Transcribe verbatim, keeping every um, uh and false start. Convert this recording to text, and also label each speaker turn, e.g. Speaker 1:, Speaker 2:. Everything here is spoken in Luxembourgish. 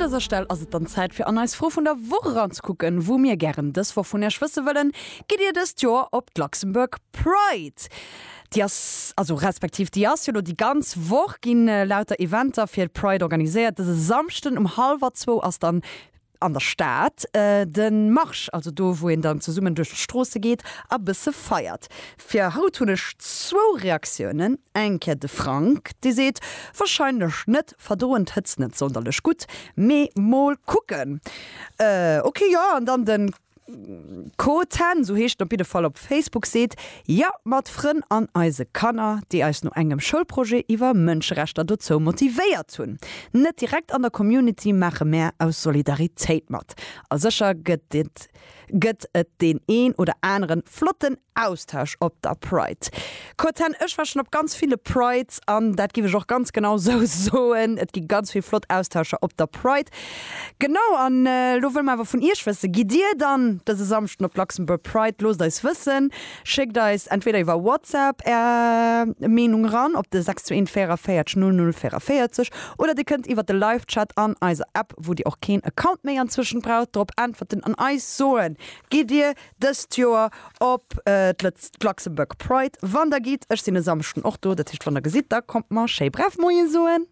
Speaker 1: An dëser Stell ass et dann Zäit fir an eis Fro vun der Woch eranzekucken, wou mir gären dës Woch vun Iech wësse wëllen, Gitt Dir dëst Joer op d'Luxembourg Pride? Déi ass, also respektiv déi ass jo lo déi ganz Woch ginn lauter Eventer fir d'Pride organiséiert. Dëse Samschden um hallwer zwou ass dann an der Stad de Marsch, also do wou een dann zesummen duerch d'Stroosse geet a bësse feiert. Fir haut hunn ech zwou Reaktiounen, eng Kéier de Frank, dee seet, Warscheinlech net, verdroen d'Hëtzt net sonderlech gutt, mee mol kucken. Ok, jo, an dann de Coten, sou heescht en op jidde Fall op Facebook, seet, Jo, mat Frënn an eise Kanner, déi eis no engem Schoulprojet iwwer Mënscherechter dozou motivéiert hunn. Net direkt an der Community maache mär aus Solidaritéit mat. A sécher gëtt et gëtt et deen een oder aneren flotten Austausch op der Pride. Coten, ech war schonn op ganz ville Prides an dat giff ech och ganz genau sou soen, et gi ganz vill flott Austauscher op der Pride. Genau, an elo wëlle mer awer vun iech wëssen, Gitt dir dann dëse Samschden op d'Luxembourg Pride? Loosst eis wëssen, schéckt eis entweder iwwer WhatsApp är Meenung ran op de sechs zwee eent véierundvéierzeg null null véierundvéierzeg oder dir kënnt iwwer de Live-Chat an eiser App, wou dir och keen Account méi anzwëschen braucht, drop äntwerten an eis soen, Gitt dir dëst Joer op d'Luxembourg Pride? Wann der gitt, ech sinn e Samschden och do, dat heescht wann der gesitt, da kommt mer schéi brav Moie soen.